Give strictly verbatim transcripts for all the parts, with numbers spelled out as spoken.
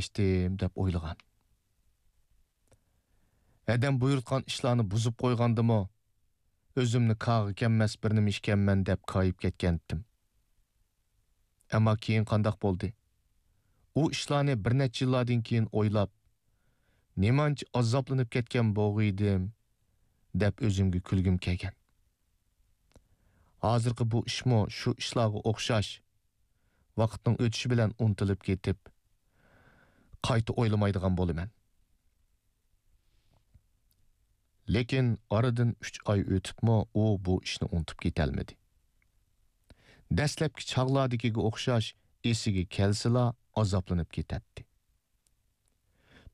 ئەركىلەشتىم دەپ ئويلىغان. ھەدەم بۇيرۇتقان ئىشلارنى بۇزۇپ قويغاندىمۇ، ئۆزۈمنى كاغا كەممەس بىر نېمە ئىكەنمەن دەپ كايىپ كەتكەنتىم. ئەمما كېيىن قانداق بولدى؟ ئۇ ئىشلارنى بىر نەچچە يىللاردىن كېيىن ئويلاپ، نېمانچە ئازابلىنىپ كەتكەن بولغىيدىم، دەپ ئۆزۈمگە كۈلگۈم كەلگەن. ھازىرقى بۇ ئىشمۇ شۇ ئىشلارغا ئوخشاش، ۋاقىتنىڭ ئۆتۈشى بىلەن ئۇنتۇلۇپ كېتىپ، قايتا ئويلىمايدىغان بولىمەن. لېكىن ئارىدىن ئۈچ ئاي ئۆتۈپمۇ ئۇ بۇ ئىشنى ئۇنتۇپ كېتەلمىدى. دەسلەپكى چاغلاردىكىگە ئوخشاش ئېسىگە كەلسىلا ئازابلىنىپ كېتەتتى.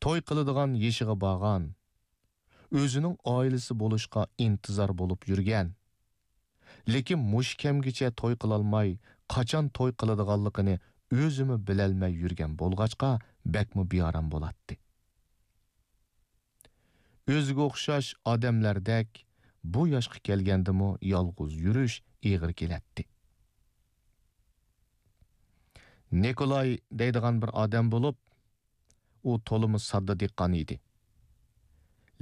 توي قىلىدىغان يېشىغا بارغان، ئۆزىنىڭ ئائىلىسى بولۇشقا ئىنتىزار بولۇپ يۈرگەن، لېكىن مۇشۇ كەمگىچە توي قىلالماي، قاچان توي قىلىدىغانلىقىنى ئۆزىمۇ بىلەلمەي يۈرگەن بولغاچقا، بەكمۇ بىئارام بولاتتى. ئۆزىگە ئوخشاش ئادەملەردەك بۇ ياشقا كەلگەندىمۇ يالغۇز يۈرۈش ئېغىر كېلەتتى. نىكولاي دەيدىغان بىر ئادەم بولۇپ، ئۇ تولىمۇ ساددا دېھقان ئىدى.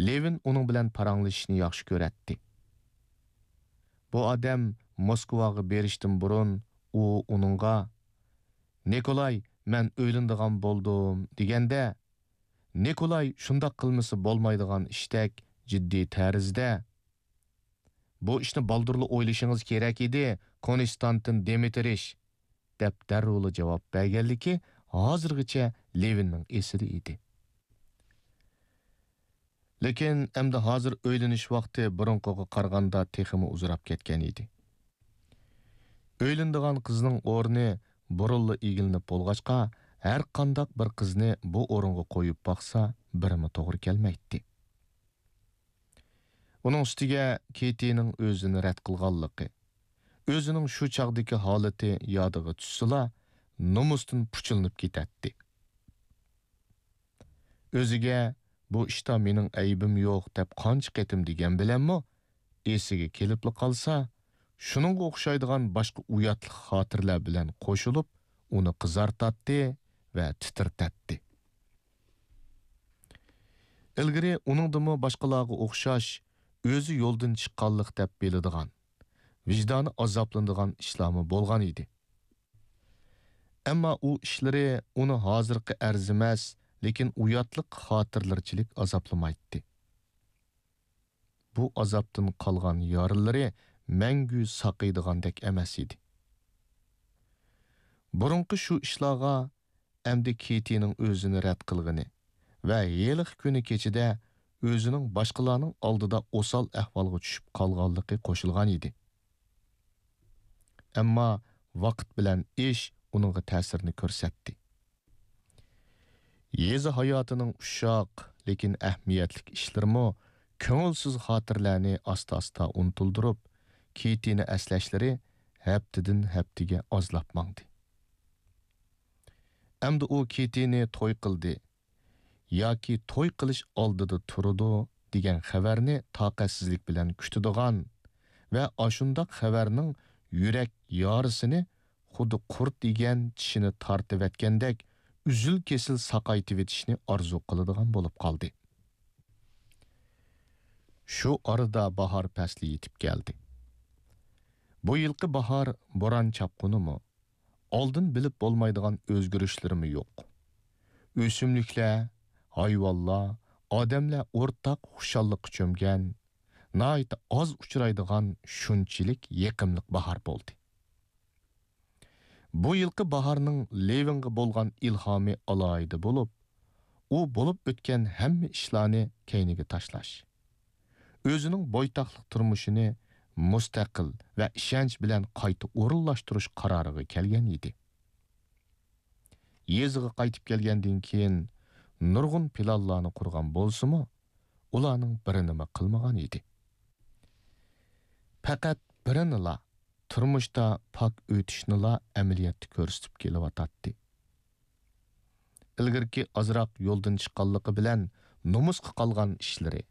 لېۋىن ئۇنىڭ بىلەن پاراڭلىشىشنى ياخشى كۆرەتتى. بۇ ئادەم موسكۋاغا بېرىشتىن بۇرۇن ئۇ ئۇنىڭغا، «نىكولاي، مەن ئۆيلىنىدىغان بولدۇم» دېگەندە، نىكولاي شۇنداق قىلمىسا بولمايدىغان ئىشتەك جىددىي تەرزدە، «بۇ ئىشنى بالدۇرلا ئويلىشىڭىز كېرەك ئىدى، كونستانتىن دىمىترىچ» دەپ دەررۇلا جاۋاب بەرگەنلىكى ھازىرغىچە لېۋىننىڭ ئېسىدە ئىدى. لېكىن ئەمدى ھازىر ئۆيلىنىش ۋاقتى بۇرۇنقىغا قارىغاندا تېخىمۇ ئۇزىراپ كەتكەن ئىدى. ئۆيلىنىدىغان قىزنىڭ ئورنى بۇرۇنلا ئىگىلىنىپ بولغاچقا، ھەرقانداق بىر قىزنى بۇ ئورۇنغا قويۇپ باقسا، بىرمۇ توغرا كەلمەيتتى. ئۇنىڭ ئۈستىگە كېتىنىڭ ئۆزىنى رەت قىلغانلىقى، ئۆزىنىڭ شۇ چاغدىكى ھالىتى يادىغا چۈشسىلا، نومۇستىن پۇچۇلىنىپ كېتەتتى. ئۆزىگە «بۇ ئىشتا مېنىڭ ئەيىبىم يوق» دەپ قانچە قېتىم دېگەن بىلەنمۇ، ئېسىگە كېلىپلا قالسا، شۇنىڭغا ئوخشايدىغان باشقا ئۇياتلىق خاتىرىلەر بىلەن قوشۇلۇپ، ئۇنى قىزارتاتتى ۋە تىترىتەتتى. ئىلگىرى ئۇنىڭدىمۇ باشقىلارغا ئوخشاش ئۆزى يولدىن چىققانلىق دەپ بىلىدىغان، ۋىجدانى ئازابلىنىدىغان ئىشلارمۇ بولغان ئىدى. ئەمما ئۇ ئىشلىرى ئۇنى ھازىرقى ئەرزىمەس، لېكىن ئۇياتلىق خاتىرىلەرچىلىك ئازابلىمايتتى. بۇ ئازابتىن قالغان يارىلىرى مەڭگۈ ساقىيدىغاندەك ئەمەس ئىدى. بۇرۇنقى شۇ ئىشلارغا ئەمدى كېتىنىڭ ئۆزىنى رەت قىلغىنى ۋە ھېلىقى كۈنى كېچىدە ئۆزىنىڭ باشقىلارنىڭ ئالدىدا ئوسال ئەھۋالغا چۈشۈپ قالغانلىقى قوشۇلغان ئىدى. ئەمما ۋاقىت بىلەن ئىش ئۇنىڭغا تەسىرىنى كۆرسەتتى. يېزا ھاياتىنىڭ ئۇششاق، لېكىن ئەھمىيەتلىك ئىشلىرىمۇ كۆڭۈلسىز خاتىرىلەرنى ئاستا-ئاستا ئۇنتۇلدۇرۇپ، كېتىنى ئەسلەشلىرى ھەپتىدىن ھەپتىگە ئازلاپ ماڭدى. ئەمدى ئۇ كېتىنى توي قىلدى ياكى توي قىلىش ئالدىدا تۇرىدۇ دېگەن خەۋەرنى تاقەتسىزلىك بىلەن كۈتىدىغان ۋە ئاشۇنداق خەۋەرنىڭ يۈرەك يارىسىنى خۇددى قۇرت يېگەن چىشىنى تارتىۋەتكەندەك ئۈزۈل-كېسىل ساقايتىۋېتىشنى ئارزۇ قىلىدىغان بولۇپ قالدى. شۇ ئارىدا باھار پەسلى يېتىپ كەلدى. بۇ يىلقى باھار بوران-چاپقۇنىمۇ، ئالدىن بىلىپ بولمايدىغان ئۆزگىرىشلىرىمۇ يوق. ئۆسۈملۈكلەر، ھايۋانلار، ئادەملەر ئورتاق خۇشاللىققا چۆمگەن، ناھايىتى ئاز ئۇچرايدىغان شۇنچىلىك يېقىملىق باھار بولدى. بۇ يىلقى باھارنىڭ لېۋىنغا بولغان ئىلھامى ئالاھىدە بولۇپ، ئۇ بولۇپ ئۆتكەن ھەممە ئىشلارنى كەينىگە تاشلاش، ئۆزىنىڭ بويتاقلىق تۇرمۇشىنى مۇستەقىل ۋە ئىشەنچ بىلەن قايتا ئورۇنلاشتۇرۇش قارارىغا كەلگەن ئىدى. يېزىغا قايتىپ كەلگەندىن كېيىن نۇرغۇن پىلانلارنى قۇرغان بولسىمۇ، ئۇلارنىڭ بىرىنىمۇ قىلمىغان ئىدى. پەقەت بىرىنىلا تۇرمۇشتا پاك ئۆتۈشنىلا ئەمەلىيەتتە كۆرسىتىپ كېلىۋاتاتتى. ئىلگىرىكى ئازراق يولدىن چىققانلىقى بىلەن نومۇسقا قالغان ئىشلىرى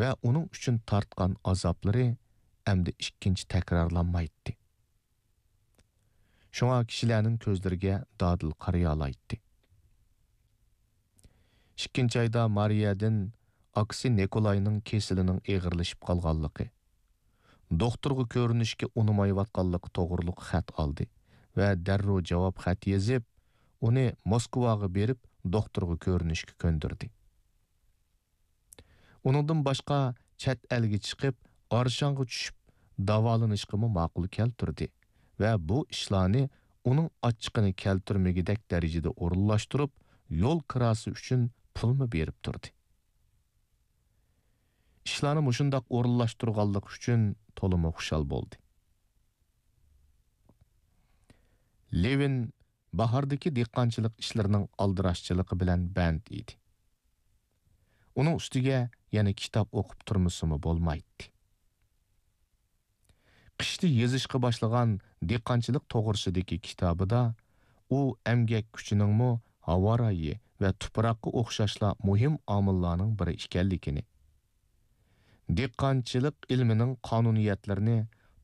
ۋە ئۇنىڭ ئۈچۈن تارتقان ئازابلىرى ئەمدى ئىككىنچى تەكرارلانمايتتى. شۇڭا كىشىلەرنىڭ كۆزلىرىگە دادىل قارىيالايتتى. ئىككىنچى ئايدا مارىيەدىن ئاكىسى نىكولاينىڭ كېسىلىنىڭ ئېغىرلىشىپ قالغانلىقى، دوختۇرغا كۆرۈنۈشكە ئۇنىمايۋاتقانلىقى توغرۇلۇق خەت ئالدى ۋە دەررۇ جاۋاب خەت يېزىپ، ئۇنى موسكۋاغا بېرىپ دوختۇرغا كۆرۈنۈشكە كۆندۈردى. ئۇنىڭدىن باشقا چەت ئەلگە چىقىپ، ئارشاڭغا چۈشۈپ داۋالىنىشقىمۇ ماقۇل كەلتۈردى ۋە بۇ ئىشلارنى ئۇنىڭ ئاچچىقىنى كەلتۈرمىگۈدەك دەرىجىدە ئورۇنلاشتۇرۇپ، يول كىراسى ئۈچۈن پۇلمۇ بېرىپ تۇردى. ئىشلارنى مۇشۇنداق ئورۇنلاشتۇرغانلىقى ئۈچۈن تولىمۇ خۇشال بولدى. لېۋىن باھاردىكى دېھقانچىلىق ئىشلىرىنىڭ ئالدىراشچىلىقى بىلەن بەند ئىدى. ئۇنىڭ ئۈستىگە يەنە كىتاب ئوقۇپ تۇرمىسىمۇ بولمايتتى. قىشتا يېزىشقا باشلىغان دېھقانچىلىق توغرىسىدىكى كىتابىدا ئۇ ئەمگەك كۈچىنىڭمۇ ھاۋا رايى ۋە تۇپراققا ئوخشاشلا مۇھىم ئامىللارنىڭ بىرى ئىكەنلىكىنى، دېھقانچىلىق ئىلمىنىڭ قانۇنىيەتلىرىنى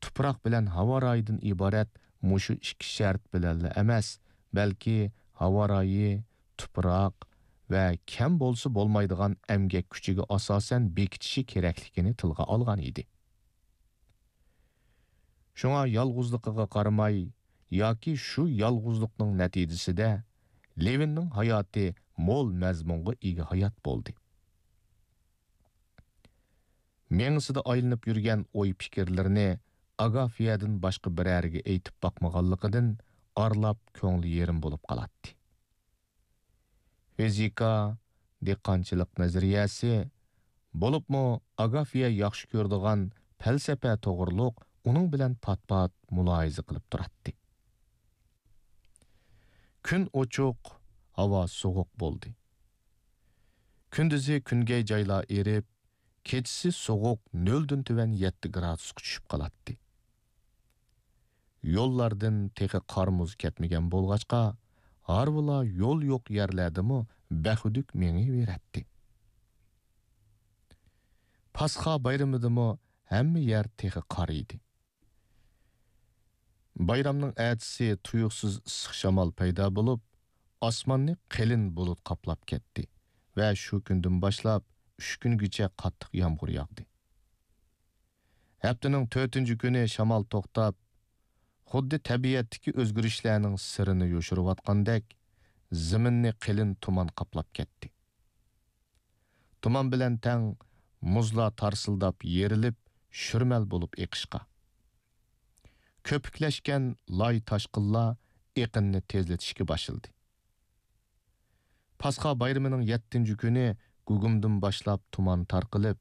تۇپراق بىلەن ھاۋا رايىدىن ئىبارەت مۇشۇ ئىككى شەرت بىلەنلا ئەمەس، بەلكى ھاۋا رايى، تۇپراق ۋە كەم بولسا بولمايدىغان ئەمگەك كۈچىگە ئاساسەن بېكىتىشى كېرەكلىكىنى تىلغا ئالغان ئىدى. شۇڭا يالغۇزلۇقىغا قارىماي ياكى شۇ يالغۇزلۇقنىڭ نەتىجىسىدە لېۋىننىڭ ھاياتى مول مەزمۇنغا ئىگە ھايات بولدى. مېڭىسىدا ئايلىنىپ يۈرگەن ئوي-پىكىرلىرىنى ئاگافىيەدىن باشقا بىرەرگە ئېيتىپ باقمىغانلىقىدىن ئارىلاپ كۆڭلى يېرىم بولۇپ قالاتتى. فىزىكا، دېھقانچىلىق نەزەرىيەسى، بولۇپمۇ ئاگافىيە ياخشى كۆرىدىغان پەلسەپە توغرۇلۇق ئۇنىڭ بىلەن پات-پات مۇلاھىزە قىلىپ تۇراتتى. كۈن ئوچۇق، ھاۋا سوغۇق بولدى. كۈندۈزى كۈنگەي جايلار ئېرىپ، كېچىسى سوغۇق نۆلدىن تۆۋەن يەتتە گرادۇسقا چۈشۈپ قالاتتى. يوللاردىن تېخى قار-مۇز كەتمىگەن بولغاچقا، ھارۋىلار يول يوق يەرلەردىمۇ بەخۈدۈك مېڭىۋېرەتتى. پاسخا بايرىمىدىمۇ ھەممە يەر تېخى قار ئىدى. بايرامنىڭ ئەتىسى تۇيۇقسىز ئىسسىق شامال پەيدا بولۇپ، ئاسماننى قېلىن بۇلۇت قاپلاپ كەتتى ۋە شۇ كۈندىن باشلاپ ئۈچ كۈنگىچە قاتتىق يامغۇر ياغدى. ھەپتىنىڭ تۆتىنچى كۈنى شامال توختاپ، خۇددى تەبىئەتتىكى ئۆزگىرىشلەرنىڭ سىرىنى يوشۇرۇۋاتقاندەك، زېمىننى قېلىن تۇمان قاپلاپ كەتتى. تۇمان بىلەن تەڭ مۇزلار تارسىلداپ يېرىلىپ، شۈرمەل بولۇپ ئېقىشقا، كۆپۈكلەشكەن لاي تاشقىنلار ئېقىننى تېزلىتىشكە باشلىدى. پاسخا بايرىمىنىڭ يەتتىنچى كۈنى گۇگۇمدىن باشلاپ تۇمان تارقىلىپ،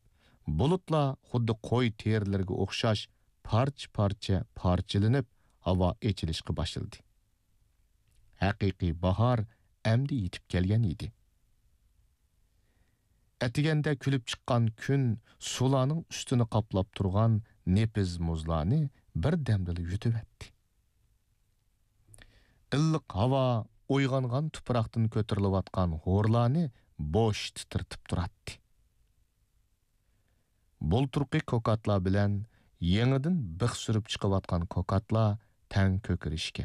بۇلۇتلار خۇددى قوي تېرىلىرىگە ئوخشاش پارچە-پارچە پارچىلىنىپ، ھاۋا ئېچىلىشقا باشلىدى. ھەقىقىي باھار ئەمدى يېتىپ كەلگەن ئىدى. ئەتىگەندە كۈلۈپ چىققان كۈن سۇلارنىڭ ئۈستىنى قاپلاپ تۇرغان نېپىز مۇزلارنى بىردەمدىلا يۇتۇۋەتتى. ئىللىق ھاۋا ئويغانغان تۇپراقتىن كۆتۈرۈلۈۋاتقان ھورلارنى بوش تىترىتىپ تۇراتتى. بۇلتۇرقى كوكاتلار بىلەن يېڭىدىن بىخ سۈرۈپ چىقىۋاتقان كوكاتلار تەڭ كۆكىرىشكە،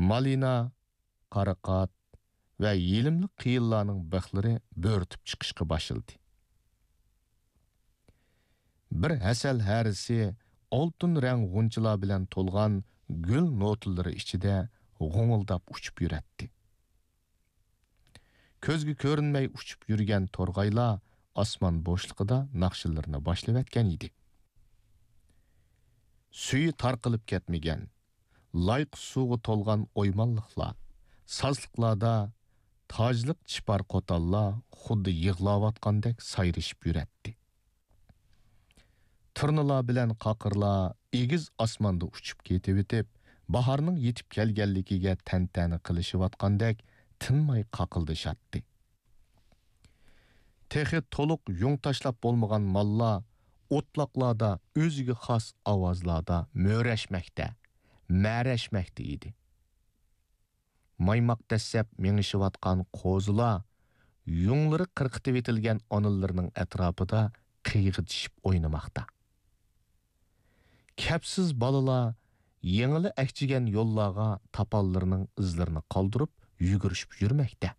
مالىنا، قاراقات ۋە يېلىملىق قېيىنلارنىڭ بىخلىرى بۆرتۈپ چىقىشقا باشلىدى. بىر ھەسەل ھەرىسى ئالتۇن رەڭ غۇنچىلار بىلەن تولغان گۈل نوتىلىرى ئىچىدە غوڭۇلداپ ئۇچۇپ يۈرەتتى. كۆزگە كۆرۈنمەي ئۇچۇپ يۈرگەن تورغايلار ئاسمان بوشلۇقىدا ناخشىلىرىنى باشلىۋەتكەن ئىدى. سۈيى تارقىلىپ كەتمىگەن، لايقا سۇغا تولغان ئويمانلىقلار، سازلىقلاردا تاجلىق چىپار قوتانلار خۇددى يىغلاۋاتقاندەك سايرىشىپ يۈرەتتى. تۇرنىلار بىلەن قاقىرلار ئېگىز ئاسماندا ئۇچۇپ كېتىۋېتىپ، باھارنىڭ يېتىپ كەلگەنلىكىگە تەنتەنە قىلىشىۋاتقاندەك تىنماي قاقىلدىشاتتى. تېخى تولۇق يۇڭ تاشلاپ بولمىغان ماللار ئوتلاقلاردا ئۆزىگە خاس ئاۋازلاردا مۆرەشمەكتە، مەرەشمەكتە ئىدى. مايماق دەسسەپ مېڭىشىۋاتقان قوزىلار يۇڭلىرى قىرقىتىۋېتىلگەن ئانىلىرىنىڭ ئەتراپىدا قىيغىتىشىپ ئوينىماقتا. كەپسىز بالىلار يېڭىلا ئەكچىگەن يوللارغا تاپانلىرىنىڭ ئىزلىرىنى قالدۇرۇپ يۈگۈرۈشۈپ يۈرمەكتە.